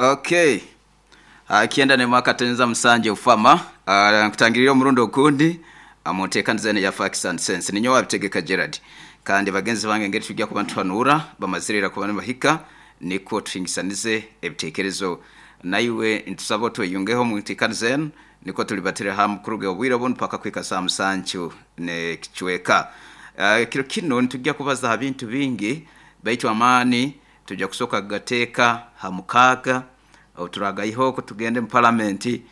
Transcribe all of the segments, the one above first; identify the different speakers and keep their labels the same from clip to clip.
Speaker 1: Okay. Kyenda n'emwe akatenza musangye ufama nkutangirire omurundi ogundi omu nteekaniza enu eya Facts and Sense. Ninyowe Abitegeka Gerald kandi bagenzi bange engeri tujya kuba nituhanuura bamazire ira kuba nibahika nikwo tuhingisanize ebiteekerezo. Naiwe nitusaba otweyungeho omu nteekaniza enu nikwo tulibatire hamu kuruga obwire obunu paka kuhika saaha musanju n'ekicweka. Kiro kinu nitujya kubaza ha bintu bingi baitu amaani Tujja kusooka kugateeka ha mukaaga, obu turagaiha oku tugende mu palamenti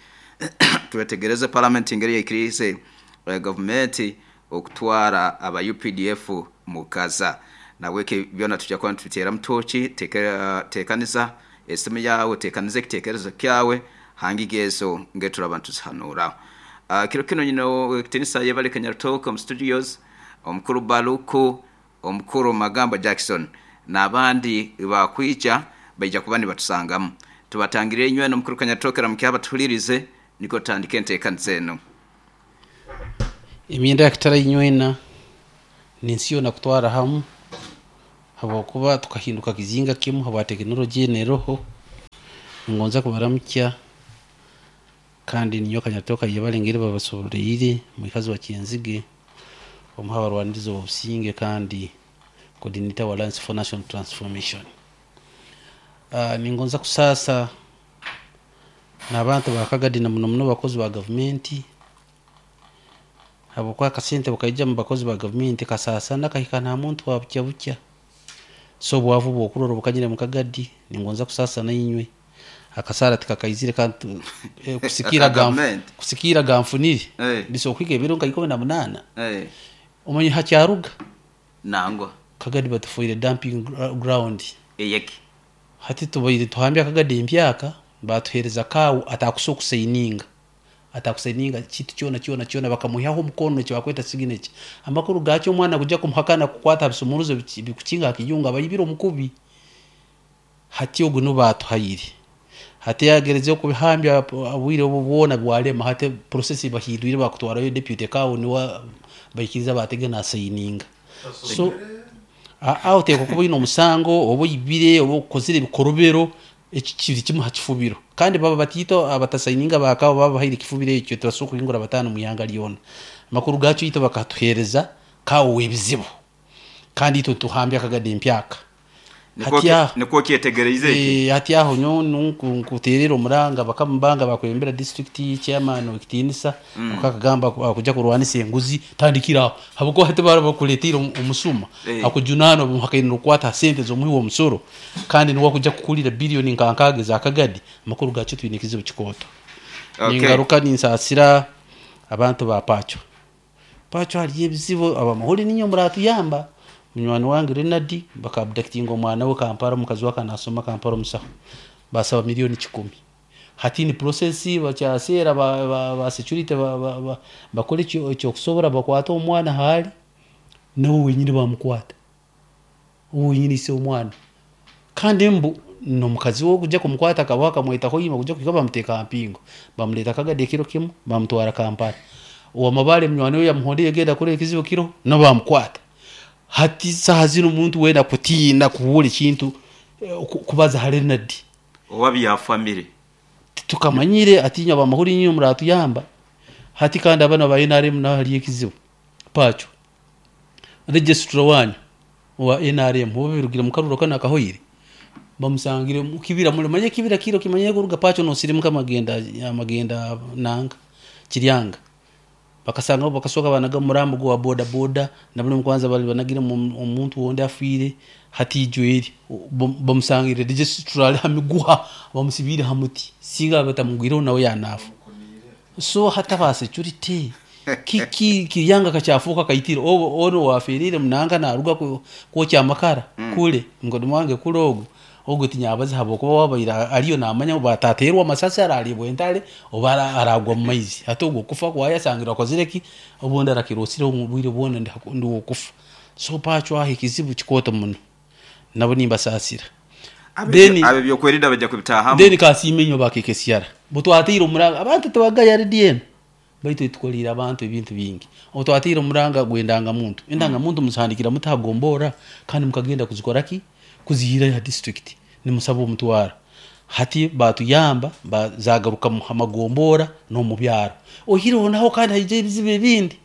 Speaker 1: twetegereze palamenti engeri yaikiriize gavumenti okutwara aba updf mu Gaza. Nahabweki byona tujja kuba nitubiteeramu tooki, teekaniza esimu yaawe, oteekanize ekiteekerezo kyawe ha ngiga ezo engeri turaba nituzihanuuraho. Kiro kinu nyine ow'ekitiinisa Yebare Kanyarutooke omu studios, Omukuru Baluku, Omukuru Magamba Jackson n'abandi baakwija baija kuba nibatusangamu. Tubatangirire inywena Omukuru Kanyarutooke Ramukya abatuhulirize nikwo tutandike enteekaniza enu.
Speaker 2: Emyenda ya kitara inywena n'ensi yoona kutwara hamu habwokuba tukahinduka kizinga kimu habwa tekinologye enu eroho. Ningonza kubaramukya kandi ninyowe Kanyarutooke Ayebare engeri babasoboreire mwikazi wa Kyenzige. Omu h'abarwanirizi b'obusinge kandi Coordinator wa Alliance for National Transformation. Ningonza kusaasa n'abantu ba Kagadi na muno muno abakozi ba gavumenti habwokuba akasente obu kaija omu bakozi ba gavumenti kasaasana kahika n'aha muntu wa bukya bukya. So obwavu obu okurora obukanyire omu Kagadi ningonza kusaasa nainywe. Akasaara tikakaizire kandi kusikiira
Speaker 1: Aka gavumenti.
Speaker 2: kusikiira ganfunire
Speaker 1: Eh.
Speaker 2: bisobola kuhika ebiro nka 18.
Speaker 1: Eh.
Speaker 2: Omanyire hakyaruga?
Speaker 1: Nangwa.
Speaker 2: Kagadi batufoire dumping ground.
Speaker 1: Eyeki.
Speaker 2: Hati tubaire nituhambya Kagadi empyaka batuhereza kaawo atakusobola kusaininga atakusaininga kintu kyona kyona kyona bakamwihaho omukono eki bakweta signature. Amakuru gakyo omwana kuija kumuhakana kukwata aha bisumuruzo bikukinga aha kiyungu aba aibire omukubi. Hati ogu niwe baatuhaire. Hati yaagerizeho kubihambya obwire obu bwona bwarema. Hati process bahindwire baakutwarayo deputy kawo niwe baikiriza baatega naasayininga. So aho oteekwa kuba oine omusango oba oibire oba okozire ebikorobero, eki kiri kimwe aha kifubiro. Kandi baaba bataito abatasayininga ba kawo baaba babahaire ekifubiro ekyo tibasobola kuhingura bataano omu ihanga ryona. Amakuru gaakyo itwe bakatuheereza kawo w'ebizibu kandi itwe nituhambya akagadi empyaka.
Speaker 1: Hati aho Nikwo okyetegereize eki?
Speaker 2: Hati aho nyowe nkuteerera omuranga bakama bange abakwebembera disiturikiti, chairman ow'ekitiinisa nikwo akagamba akuja kurwanisa enguzi tandikira aho habwokuba hati baraba bakureteire omusuma akujunaana omuhakaine n'okukwata ha sente z'omuhi w'omusoro kandi niwe akuja kukurira billion nka nkaaga eza kagadi amakuru gakyo twine ekizibu kikooto. Ningaruka ninsaasira abantu ba Pacho. Pacho hariyo ebizibu abamahurire niinywe muratuyamba. Munywani wange Renard baka abductinga omwana we Kampala omukazi we akaba nasoma Kampala omusaho basaba million kikumi. Hati ni process bakyaseera ba security bakore ekyokusobora bakwate omwana ahaari nawe wenyini bamukwata. Ogu wenyini ise omwana. Kandi mbu n'omukazi we okuja kumukwata akabaho akamweta hoima kuja kuhika bamuteeka aha mpingo. Bamureeta Kagadi ekiro kimwe bamutwara Kampala. Owa Mabale munywani we yamuhondeire genda kureba ekizibu kiriho nabo bamukwata. Hati saaha zinu omuntu weena akutiina kubuura ekintu kubaza ahari Leonard.
Speaker 1: Owa bya family.
Speaker 2: Titukamanyire hati inywe abamahurire inywe muratuyamba. Hati kandi abana ba nrm naho hariyo ekizibu. Pacho. Registrar wanyu owa nrm obu birugire mu karuru kanu akahoire bamusangire omu kibira muri manya ekibira kiri okimanyire kuruga Pacho nosirimuka amagenda amagenda nanga Kiryanga bakasanga bakasoka banaga omurambo gwa boda boda na buri kwanza bari banagiremu omuntu ondi afiire hati ijo eri bamusangire registrar ari ha miguha bamusibiire ha muti singa batamugwireho nawe yanafa. So hati aba security kiki Kiryanga kakyafuuka kaitire obu onu owafeereire nanka naruga kwokya amakara kure mukodomi wange kure ogu, ogu tinyabaza habwokuba owabaire ariyo namanya obu atateerwa amasasi arariibwa entare oba aragwa omu maizi. Hati ogu okufa kwaye asangire akozire ki? Obundi arakiroosire omu bwire bwona ndi w'okufa. So Pacho aho ekizibu kikooto muno nabo nimbasaasira.
Speaker 1: Then Ab'ebyokwerinda baija kubitaahamu.
Speaker 2: Then kasiime inywe aba KKCR obu twateire omuranga abantu tibagaya redi enu baitu etukoriire abantu ebintu bingi. Obu twateire omuranga gw'endangamuntu, endangamuntu muzihandikira muta ha gomborra kandi mukagenda kuzikora ki? Kuzihairayo ha district nimusaba omutwaro. Hati batuyamba zagaruka mu magombora n'omu byaro. Oihireho naho kandi haija ebizibu ebindi.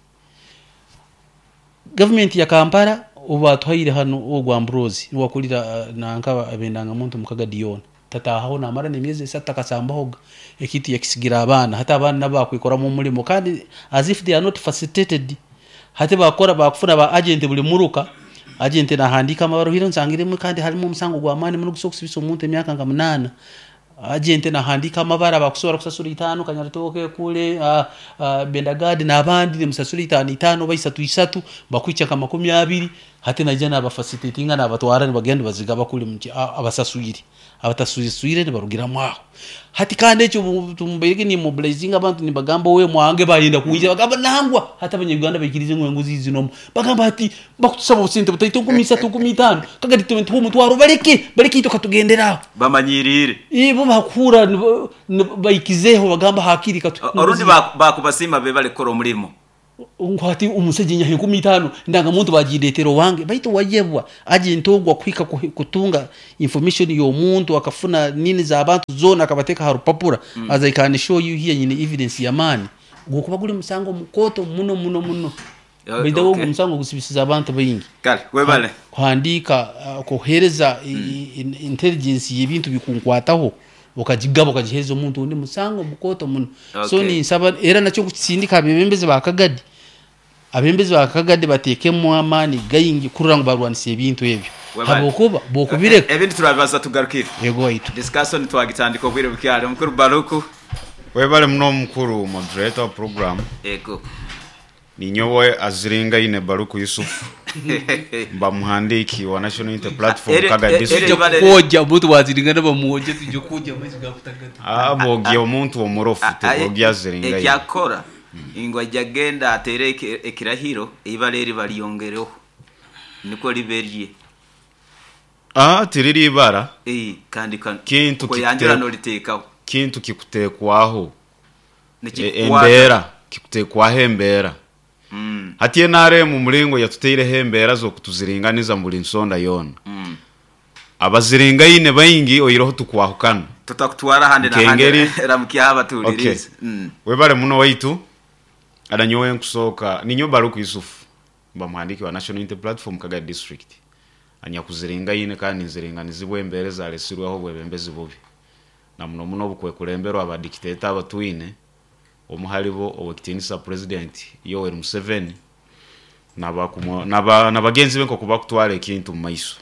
Speaker 2: Gavumenti ya Kampala obu batuhaire hanu ogu Ambrose niwe akurira nanka abendangamuntu omu Kagadi yoona. Tataahaho namara n'emyezi esatu takasambahoga. Ekintu yakisigira abaana. Hati abaana nabo bakwikoramu omurimo kandi as if they are not facilitated. Hati bakora bakufuna ba agent buri muruka, agent nahandiika amabaruha oihireho nsangiremu kandi harimu omusango gw'amaani muno ogusobola kusibisa omuntu emyaka nka munaana. Agent nahandiika amabara bakusobora kusasura itaano Kanyarutooke, Kule, Bendagadi n'abandi nimusasura itaano itaano oba isatu isatu bakuhikya nka 20. Hati naija nabafacilitatinga nabatwara nibagenda nibazigaba kuri abasaswire. Abatasaswire nibarugiramu aho. Hati kandi ekyo tumbaire nimmobilizinga abantu nibagamba owe mwange bayenda kwija bagamba nangwa hati abanya-Uganda baikirize ngu enguzi zinomu. Bagamba hati bakutusaba obusente butaito 3000 5000 kagati tuhe omutwaro baleke baleke itwe katugendere aho.
Speaker 1: Bamanyiriire.
Speaker 2: Bo bakuhurra baikizeho bagamba hakiri katu.
Speaker 1: Orundi bakubasiima bebale kukora omurimo.
Speaker 2: Ngu hati omusajja nyaha 5000 ndangamuntu bagireetera owange baitu wayebwa agent ogwo akuhika kutunga information y'omuntu akafuna nini z'abantu zoona akabateeka aha rupapura as I can show you here nyine evidence y'amaani gukuba guri musango mukooto muno muno muno. Baitu ogwo omusango gusibisize abantu baingi.
Speaker 1: Kale webale.
Speaker 2: Kuhandiika kuheereza intelligence y'ebintu bikunkwataho okagigaba okagiheereza omuntu ondi musango mukooto muno. So ninsaba era nakyo nkukisindika abebembezi ba Kagadi. Abebembezi ba Kagadi bateekemu amaani gaingi kurora ngu barwanisa ebintu ebyo. Habwokuba bw'okubireka.
Speaker 1: Ebindi turabibaza tugarukire.
Speaker 2: Yego waitu.
Speaker 1: Discussion twagitandika obwire bukyali. Omukuru Baruku.
Speaker 3: Webale muno omukuru moderator wa program.
Speaker 1: Yego.
Speaker 3: Ninyowe Aziringaine Baruku Yusufu mba muhandiiki wa National Unity Platform Kaga District.
Speaker 2: Tujja kwogya omuntu waziringana bamwogye tujja kwogya amaizi gakutagata.
Speaker 3: Ah, bogya omuntu omurofu tebogya Aziringaine.
Speaker 1: Ekyakora ngu aija genda ateere ekirahiro eibara eri baryongereho nikwo ribe erye.
Speaker 3: Ah, tiriri ibara.
Speaker 1: Kandi
Speaker 3: Kintu
Speaker 1: koyanjura noriteekaho.
Speaker 3: Kintu kikuteekwaho.
Speaker 1: Nikikukwata.
Speaker 3: Embeera, kikuteekwaho embeera. Hati nrm omuringo yatuteireho embeera z'okutuziringaniza mu buri nsonda yoona. Abaziringaine baingi oihireho tukwahukana.
Speaker 1: Tutakutwara ahandi n'ahandi
Speaker 3: Nk'engeri.
Speaker 1: Ramukyaho
Speaker 3: Okay.
Speaker 1: abatuhuririize.
Speaker 3: Webale muno waitu. Ada nyowe nkusooka, ninyowe Baruku Yusuf, mba muhandiiki wa National Unity Platform Kagadi District. Anyakuziringaine kandi nziringanizibwa embeera ezaretsirweho obwebembezi bubi. Na muno muno obukwekulemberwa ba dictator abatwine, omu haribo Owekitiinisa President Yoweri Museveni na bagenzi be nk'oku bakutwara ekintu omu maiso.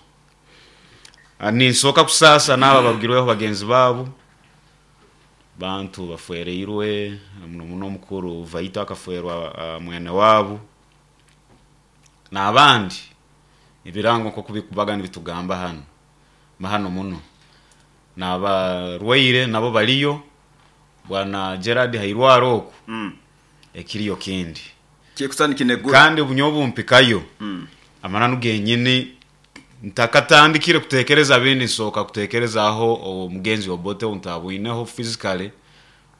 Speaker 3: Ninsooka kusaasa n'abo abarugirweho bagenzi baabo, bantu bafwereirwe, muno muno omukuru Vaito akafwerwa mwene waabo, n'abandi ebirango nk'oku bikubaga nibitugamba hanu, mahano muno. N'abarwaire nabo bariyo, bwana Gerard hairwara oku, ekiriyo kindi.
Speaker 1: Kikusa nikinegura.
Speaker 3: Kandi nyowe obumpikayo, amananu genyini ntakatandikire kutekereza bindi nsooka kutekerezaho omugenzi Obote ou ntabwineho physically,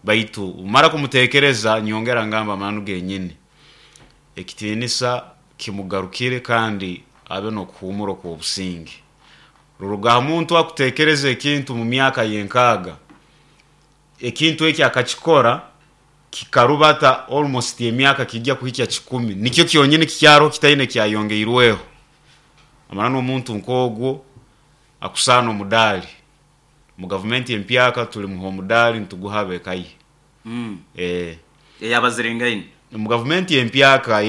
Speaker 3: baitu mara kumutekereza nyongera ngamba amananu genyini. Ekitiinisa kimugarukire kandi abe n'okuhuumura okw'obusinge. Ruruga aha muntu akutekereza ekintu mu myaka y'enkaaga, ekintu eki akakikora kikarubata almost emyaka kijya kuhikya 100, nikyo kyonyini kikyariho kitaine kyayongeirweho. Amananu omuntu nk'ogwo akusaana omudaali. Mu gavumenti empyaka tulimuha omudaali nituguha ab'eka ye.
Speaker 1: Eyabaziringaine.
Speaker 3: Omu gavumenti empyaka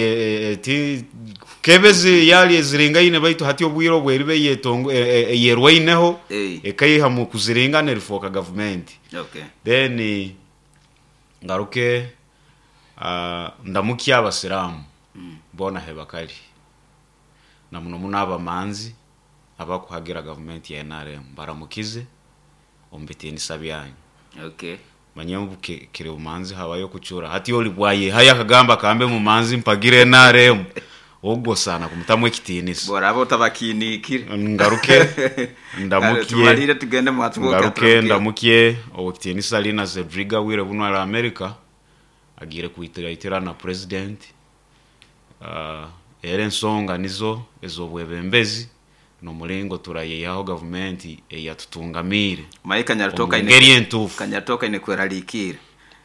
Speaker 3: ti kebezi yali eziringaine baitu hati obwire obu eriba eyerwaineho ekaiha mu kuziringana erifooka gavumenti. Then ngaruke ndamukye abasiraamu boona hebakari na muno muno abamanzi abakuhagira gavumenti ya NRM baramukize omu bitiinisa byanyu. Manya obu kiri bumanzi habayo okucura. Hati ori bwayehayo akagamba kambe mumanzi mpagire NRM, ogwo osaana kumutamu ekitiinisa.
Speaker 1: Bworaba otabakiiniikire.
Speaker 3: Ngaruke
Speaker 1: Kale tumalire tugende mu Atwoke
Speaker 3: ngaruke
Speaker 1: aturamukye.
Speaker 3: ndamukye Owekitiinisa Lina Zedriga bwire bunu ari America agiire kwitiraitira na President. Era ensonga nizo ez'obwebembezi. N'omuringo turayeihaho gavumenti eyatutungamiire
Speaker 1: Maye
Speaker 3: omu ngeri entuufu.
Speaker 1: Kanyaritoka aine kweraliikirra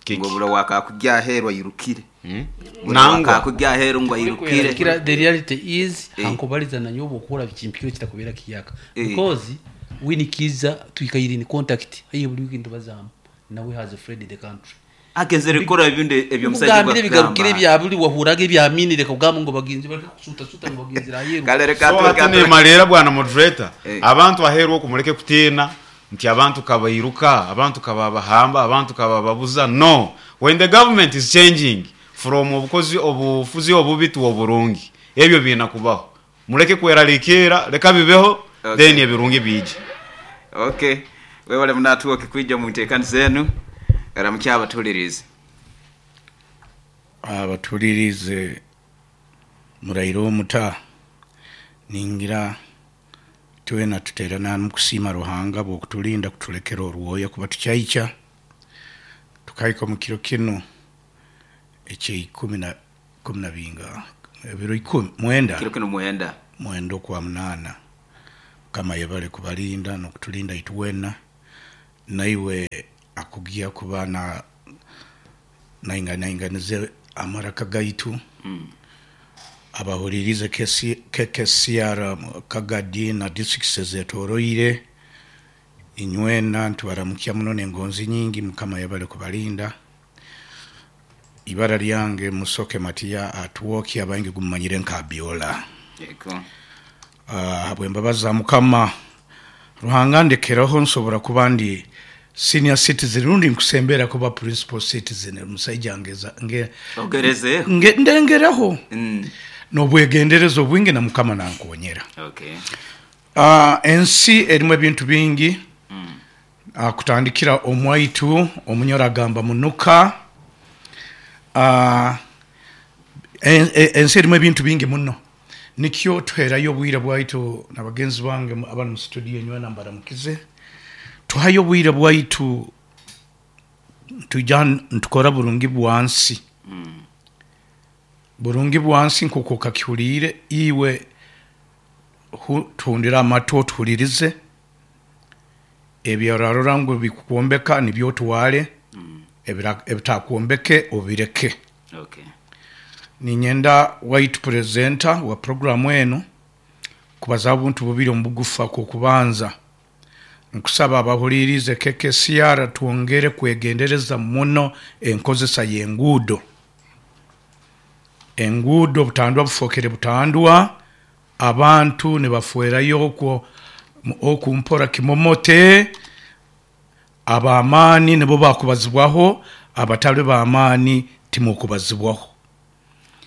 Speaker 3: Kiki?
Speaker 1: ngu oburo wakakugya aheeru airukire. Buri
Speaker 3: Nangwa.
Speaker 1: wakakugya aheeru ngu airukire.
Speaker 2: Kira, the reality is
Speaker 1: Eh.
Speaker 2: hankubaliza nanyowe obwokuhura bikimpikire kitakubera kiyaka
Speaker 1: Eh.
Speaker 2: because winikiza twikaire in contact haihi buri wiki nitubazamu nawe has fled the country.
Speaker 1: Agenzere kukora ebindi ebyomusajja
Speaker 2: Nkugambire ebigarukire ebya buri wahuraga ebyaminire kugamba ngu bagenzi bareke kusuta ngu bagenzire aheeru.
Speaker 1: Kalere
Speaker 3: So hati
Speaker 1: katuwe
Speaker 3: nemalira bwana moderator,
Speaker 1: Eh.
Speaker 3: abantu aheeru oku mureke kutiina nti abantu kabairuka, abantu kababahamba, abantu kabababuza. No, when the government is changing from obukozi obufuzi obubi to oburungi, ebyo biina kubaho. Mureke kweraliikirra, leka bibeho,
Speaker 1: Okay.
Speaker 3: then ebirungi biije.
Speaker 1: Okay. Webale munatuoke kwija mu nteekaniza enu. Ramukya abatulirize.
Speaker 4: Abatulirize muraire omuta ningira twena tuterana mukusiima Ruhanga bw'okutulinda kutulekera orwoya kuba tukyaica tukahika omu kiro kinu ekyeikumi na kumi na binga ebiro ikumi mwenda.
Speaker 1: Kiro kino mwenda.
Speaker 4: Mwenda okwa munaana. Mukama yebale kubalinda n'okutulinda itwena naiwe akugia kuba na nainganize amaraka gaitu. Abahuririze KKCR Kagadi na districts zetoroire inywena ntubaramukia muno n'engonzi nyingi. Mukama yebale kubalinda. Ibara lyange Musoke Matiya Atwoki, abangi gumanyire nka Biola.
Speaker 1: Yego.
Speaker 4: Habwembabazi za Mukama Ruhanga ndekeraho nsobora kuba ndi senior citizen rundi nkusembera kuba principal citizen omusaija ngeza nge,
Speaker 1: Ogerezeho.
Speaker 4: nge, ndengereho n'obwegendereza obwingi na Mukama nankonyera.
Speaker 1: Okay.
Speaker 4: Ensi erimu ebintu bingi. Kutandikira omwaitu omunyoro agamba munuka. Ensi erimu ebintu bingi muno, nikyo tuherayo obwire bwaitu na bagenzi bange abari mu studio nywena mbaramukize. Tuhayo obwire bwaitu tuja ntukora burungi bwansi. Burungi bwansi nkuko kakihuriire iwe tuhundira amatu otuhuririze ebyorarora ngu bikwombeka nibyo otware, ebitakwombeke obireke.
Speaker 1: Okay.
Speaker 4: Ninyenda waitu presenter wa programu eno kubaza obuntu bubiri omu bugufu. Akokubanza nkusaba abahuririze KKCR twongere kwegendereza muno enkozesa y'enguudo. Enguudo butandwa bufokere butandwa, abantu nibafuerayo okwo okumpora kimomote. Abamaani nibo bakubazibwaho, abatali bamaani timukubazibwaho.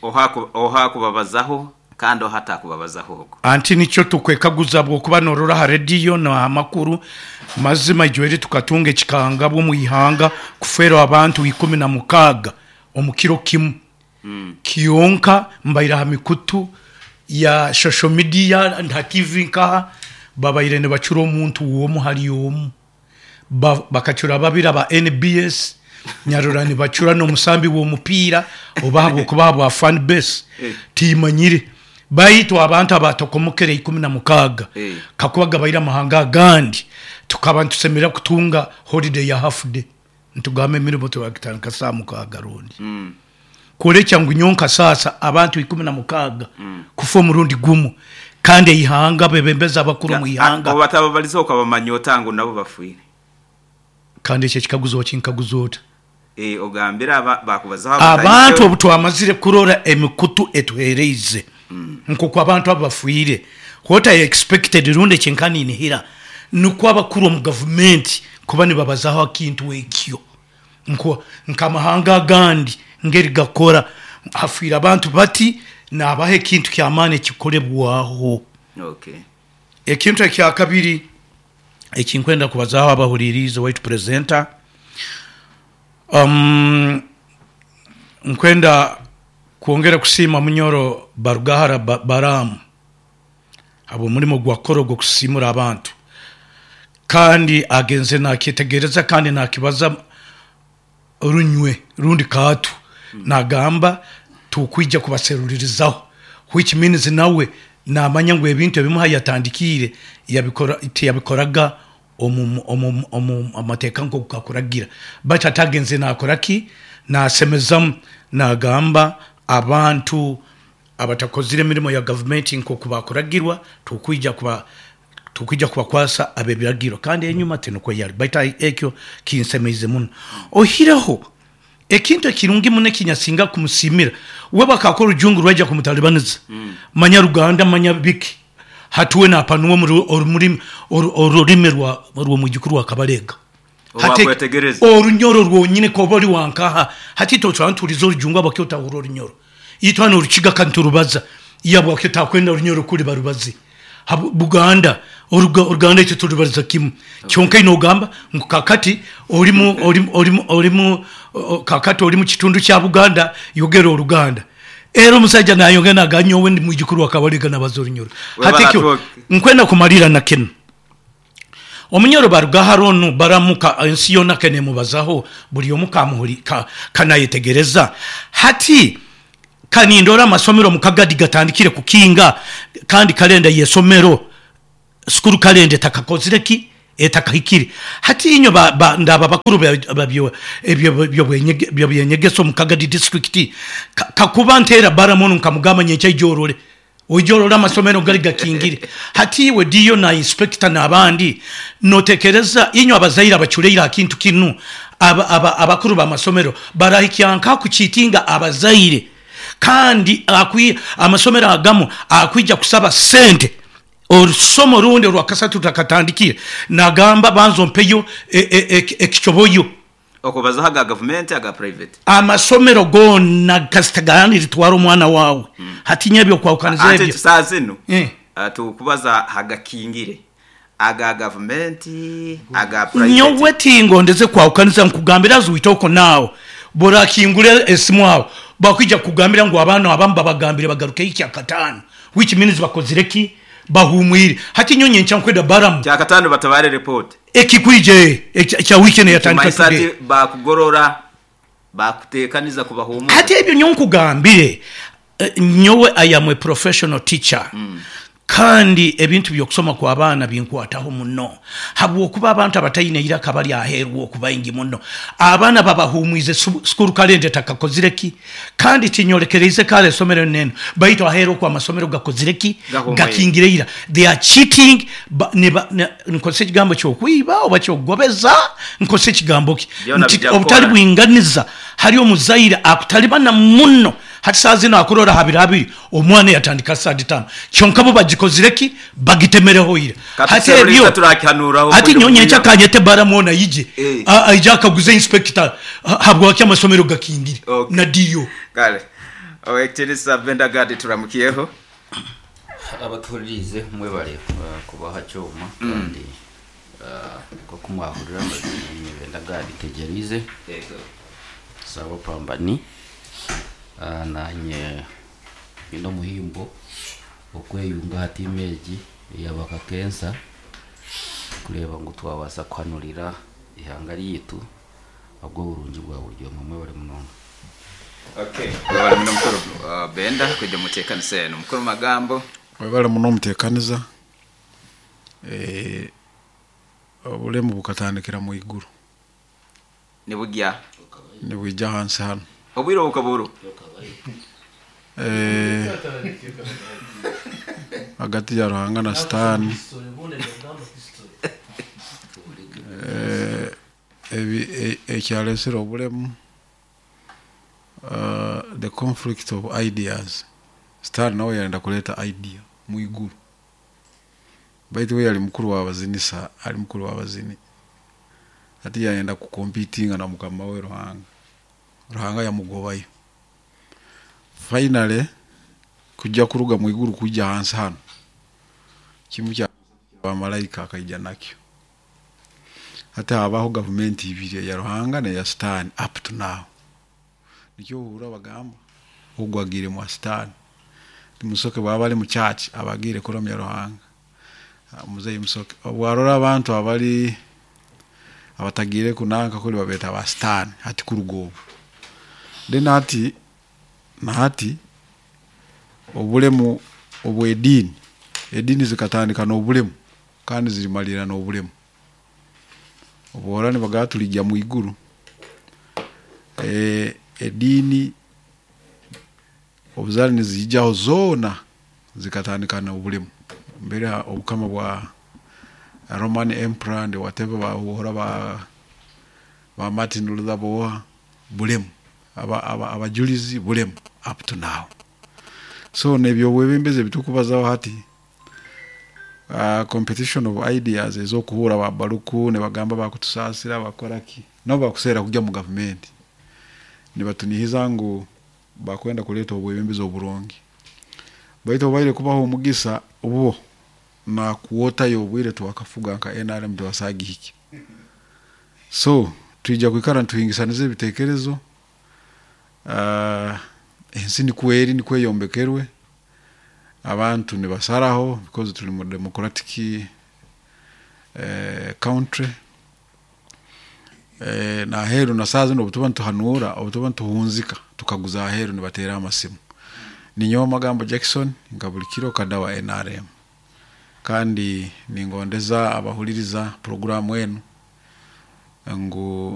Speaker 1: Oha kubabazaho kandi oha atakubabazaho okwo.
Speaker 4: Anti nikyo tukwekaguza bwokuba norora ha rediyo na amakuru mazima ijweri tukatunga ekikanga bwo ihanga kufera abantu 16 omu kiro kimu. Kionka mbaire ha mikutu ya social media nta TV nkaha babaire nibacura omuntu womu hari omu bakacura babiri aba NBS nyarora nibacura n'omusambi w'omupiira oba habwokuba bwa fan base timanyire baitu abantu abatokomokere 16 kakuba gabaire amahanga agandi tukaba nitusemera kutunga holiday ya half day ntugamba emirimo twakitandika saa 6 rundi. Kurekya ngu nyonka sasa abantu 16 kufa omurundi gumu kandi eihanga bebembeza abakuru mu ihanga.
Speaker 1: Abo batababaliza okabamanya otangu nabo bafuire.
Speaker 4: Kandi ekyo ekikaguzo okinkaguza ota?
Speaker 1: Ogambira bakubazaho
Speaker 4: abantu obu twamazire kurora emikutu etuhereize nkoku abantu abo bafuire. What I expected rundi ekinkaninihira nukwo abakuru omu gavumenti kuba nibabazaho akintu ekyo nkamahanga agandi ngeri gakora hafuire abantu bati nabaha ekintu kyamaani ekikolebwaho.
Speaker 1: Okay.
Speaker 4: Ekintu ekyakabiri ekinkwenda kubazaho abahuririze waitu presenter, nkwenda kwongera kusiima Munyoro Barugahara Baramu abo omurimo gwakora ogwo kusiimura abantu kandi agenze nakyetegereza kandi nakibaza runywe rundi kaatu nagamba tukwija kubaseruririzaho, which means nawe Naamanya ngu ebintu ebimwe ahu yatandikiire yabikora tiyabikoraga omu omu omu mateeka nk'oku gakuragira. Baitu hati agenzire naakora ki? Naasemezamu naagamba abantu abatakozire emirimo ya gavumenti nk'oku baakuragirwa tukwija kuba tukwija kubakwasa ab'ebiragiro. Kandi enyuma tinukwo yali. Baitu ekyo kinsemeize muno. Oihireho Ekintu ekirungi muno eki nyasinga kumusiimira, we bakaakora orujungu rwaija kumutalibaniza, manya Ruganda manya biki, hati we naapanuwa orurimi rw'omwijukuru wa Kabalega. Hati
Speaker 1: Orwakwetegereza.
Speaker 4: Orunyoro rwonyine koba ori wa nkaha, hati itwe twaba nituhuriza orujungu habwaki otahurra orunyoro? Itwe hanu orukiga ka niturubaza, iwe habwaki otakwenda orunyoro kuri barubaze? Buganda, Oruganda itwe turubariza kimwe. Kyonka aine ogamba ngu kakati ori mu, ori, ori, ori mu, kakati ori mu kitundu kya Buganda, yogera Oruganda. Era omusaija nayongera nagamba nyowe ndi mwijukuru wa Kabalega nabaza Orunyoro. Hati ekyo nkwenda kumalira na kinu. Omunyoro baruga hare onu baramuka ensi yoona ke nemubazaho buri omu kamuhuri, ka, kanayetegereza. Hati Ka nindora amasomero omu Kagadi gatandikire kukinga kandi kalenda y'esomero, school calendar, etakakozire ki? Etakahikire. Hati inywe ba, ba, ndaba bakuru ba, ba byo, ebyo, by'obwenyege, by'ebyenyegesa omu Kagadi district, ka, kakuba nteera Balaam onu nkamugamba nyenkya ija orore, oije orore amasomero gari gakingire. Hati iwe DO na inspector n'abandi, notekereza inywe abazaire abaculeire aha kintu kinu, aba, aba, abakuru b'amasomero barahikya nkaha kukiitinga abazaire kandi akwi, amasomero agamu akwija kusaba sente orusomo orundi orwakasatu rutakatandikire, nagamba banza ompeyo e, e, e, ekicoboyo.
Speaker 1: Okubazaho aga gavumenti aga private.
Speaker 4: Amasomero goona kasita gaaneritwara omwana waawe hati nyowe ebyokwahukaniza
Speaker 1: Anti
Speaker 4: ebyo.
Speaker 1: saaha zinu
Speaker 4: Eh.
Speaker 1: tukubaza hagakingire aga gavumenti aga private.
Speaker 4: Nyowe tingondeze kwahukaniza nkugambire as we talk now bworakingura esimu aho bakwija kukugambira ngu abaana abamu babagambire bagarukeyo kyakataano which means bakozire ki? Bahumwire. Hati nyowe nyenkya nkwenda Balaam.
Speaker 1: Kyakataano batabare report.
Speaker 4: Ekikwija ekya wiiki enu eyatandika
Speaker 1: Nikimanyisa
Speaker 4: today.
Speaker 1: ati baakugorora, baakuteekaniza kubahuumuza.
Speaker 4: Hati ebyo nyowe nkugambire, nyowe I am a professional teacher kandi ebintu by'okusoma kw'abaana binkwataho muno habwokuba abantu abataine iraka bari aheeru oku baingi muno. Abaana babahuumwize school calendar etakakozire ki? Kandi tinyorekereize kare esomero enu n'enu, baitu aheeru oku amasomero gakozire ki?
Speaker 1: Gahumwire.
Speaker 4: Gakingire ira. They are cheating, ba, niba, ni, nkozesa ekigambo ky'okwiba oba ky'okugobeza, nkozesa ekigambo ki?
Speaker 1: Byona
Speaker 4: Nti
Speaker 1: bija
Speaker 4: obutari
Speaker 1: kukora.
Speaker 4: bwinganiza hari omuzaire akutalibana muno. Hati saaha zinu akurora ha biro abiri, omwana yatandika third term. Kyonka bo bagikozire ki? Bagitemereho ira. Hati
Speaker 1: Katuseruriza
Speaker 4: ebyo,
Speaker 1: turakihanuuraho
Speaker 4: hati
Speaker 1: okwija
Speaker 4: nyowe nyenkya
Speaker 1: omukuya.
Speaker 4: kanyete Balaam onu aije,
Speaker 1: Eh.
Speaker 4: a, aije akaguze inspector habwaki amasomero gakingire
Speaker 1: Okay.
Speaker 4: na DO.
Speaker 1: Kale. Owekitiinisa Benda Gadi turamukyeho.
Speaker 5: Abatuhuririize mwebare kuba aha kyoma kandi nk'oku mwahurira amazima niinye Benda Gadi Tegyereize Saaba Pambani. Naanye nyine omuhimbo okweyunga aha tiimu egi eya Bakakensa kureeba ngu twabaasa kuhanurira eihanga ryaitu ahabw'oburungi bwa buri omwe. Mwebare munonga.
Speaker 1: Okay, webale muno mukuru Benda kwija omu nteekanisa enu. Mukuru Magambo.
Speaker 6: Webale muno omuteekaniza. Obulemu bukatandikira mu iguru.
Speaker 1: Nibugya.
Speaker 6: Nibwija ahansi hanu.
Speaker 1: Obwire obu bukaba buri?
Speaker 6: Hagati ya Ruhanga na Sitaani. Ekyaretsire obulemu, the conflict of ideas, Sitaani nawe yayenda kureeta idea omu iguru. Baitu we yari mukuru w'abazinisa, ari mukuru w'abazini. Hati yayenda kukompitinga na mukama we Ruhanga. Ruhanga yamugobayo. Finally, kujya kuruga mu iguru kujya ahansi hanu, kimwe kya bamalaika akaija nakyo. Hati habaho gavumenti ibiri, eya Ruhanga n'eya Sitaani up to now. Nikyo ohurra bagamba ogu agiire mwa Sitaani. Musoke bwaba ari mu church aba agiire kuramya Ruhanga. Muzeeyi Musoke obu arora abantu abari abatagiire kunanka kuri babeeta ba Sitaani hati kuruga obu. Then hati na hati obulemu Obw'ediini, ediini zikatandika n'obulemu kandi zirimalira n'obulemu. Obu orora nibagamba turigya mu iguru, ediini obu zaali niziijaho zoona zikatandika n'obulemu. Mbere obukama bwa Roman Emperor and whatever bahuhura ba ba Martin Luther boha bulemu, abajulizi bulemu up to now. So n'ebyobwebembezi ebitukubazaho hati, competition of ideas ez'okuhura ba Baluku nibagamba bakutusaasira bakora ki, nabo bakuseera kugya mu gavumenti. Nibatunihiza ngu bakwenda kureeta obwebembezi oburungi. Baitu obaire kubaha omugisa bo nakuwotayo obwire twakafuga nka NRM tibasagihikya. So twija kwikara nituhingisaniza ebitekerezo, ensi nikwo eri nikwo eyombekerwe, abantu nibasaraho because turi mu democratic country. Naheeru na saaha zinu obutuba nituhanuura, obutuba nituhunzika tukaguza aheeru nibateera amasimu. Ninyowe Magambo Jackson nka buri kiro kada wa NRM. Kandi ningondeza abahuririza puroguramu enu ngu.